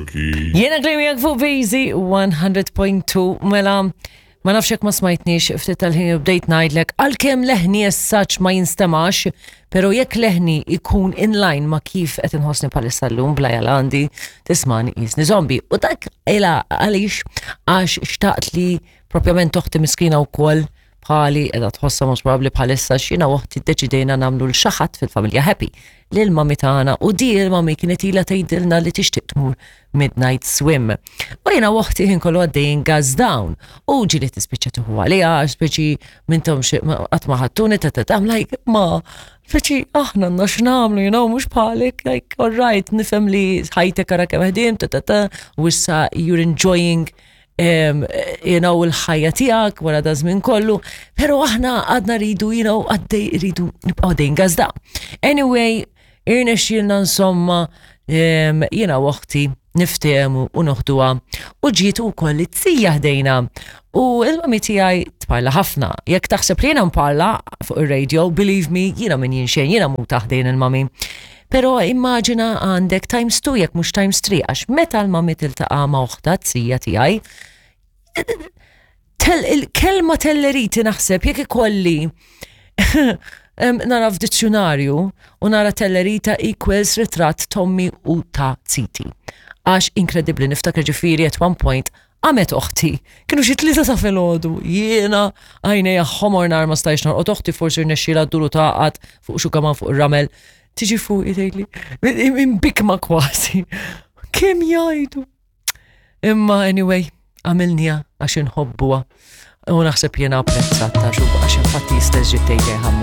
Cookie. Jiena Glenn miegħek fuq Vizi 100.2 mela ma nafx jekk ma smajtniex ftit tal-ħin bdejt ngħidlek għalkemm leħni as such ma jinstemax, pero jekk leħni ikun in line ma kif qed inħossni bħalissa llum bla għandi tismani qisni zombie. U dak ila għaliex għax xtaqt li propjament oħti miskina wkoll bħali qiegħda tħossha mhux probabbli bħalissa x'jiena u oħti ddeċidejna nagħmlu l xi ħadd fil-familja happy lil mami tagħna u di il-mami kienet ilha tgħidilna li tixtieq tmur midnight swim. U jiena u oħti ħin kollu għaddejjin gas down u ġieli tispiċċa tieħu għaliha għax speċi mintom qatt ma ħadtuni ta' ta' like ma speċi aħna għandna x'nagħmlu, you know, mhux bħalek, like all right, nifhem li ħajtek ara kemm ħdim ta' ta' ta' u issa you're enjoying you know, il-ħajja tiegħek wara da żmien kollu, pero aħna għadna rridu, you know, għaddej rridu nibqgħu għaddejn gazda. Anyway, irnexxielna insomma, jiena u oħti niftehmu u noħduha u ġiet ukoll it-tija ħdejna. U il-mami tiegħi tparla ħafna. Jekk taħseb li jiena nparla fuq ir-radio, believe me, jiena min jien xejn, jiena muta ħdejn il-mami. Pero immaġina għandek times 2 jekk mhux times 3 għax meta l-mami tiltaqa' ma' oħta t-sija tiegħi, il-kelma telleriti naħseb jekk ikolli nara f'dizzjonarju u nara tellerita equals ritratt Tommy u ta' Ziti. Għax inkredibbli niftakar ġifieri at one point Qamet oħti, kienu xi tlieta ta' filgħodu, jiena għajnejja ħomor nar ma stajtx norqod oħti forsi rnexxielha ddur u tagħqad fuq xugaman fuq ir-ramel. Tiġi fuqi tgħidli, imbikma kważi. Kemm jgħidu? Imma anyway, għamilniha għax inħobbuha. U naħseb jiena apprezzat ta' xub għax infatti jistess ġiet tgħidli ħammu.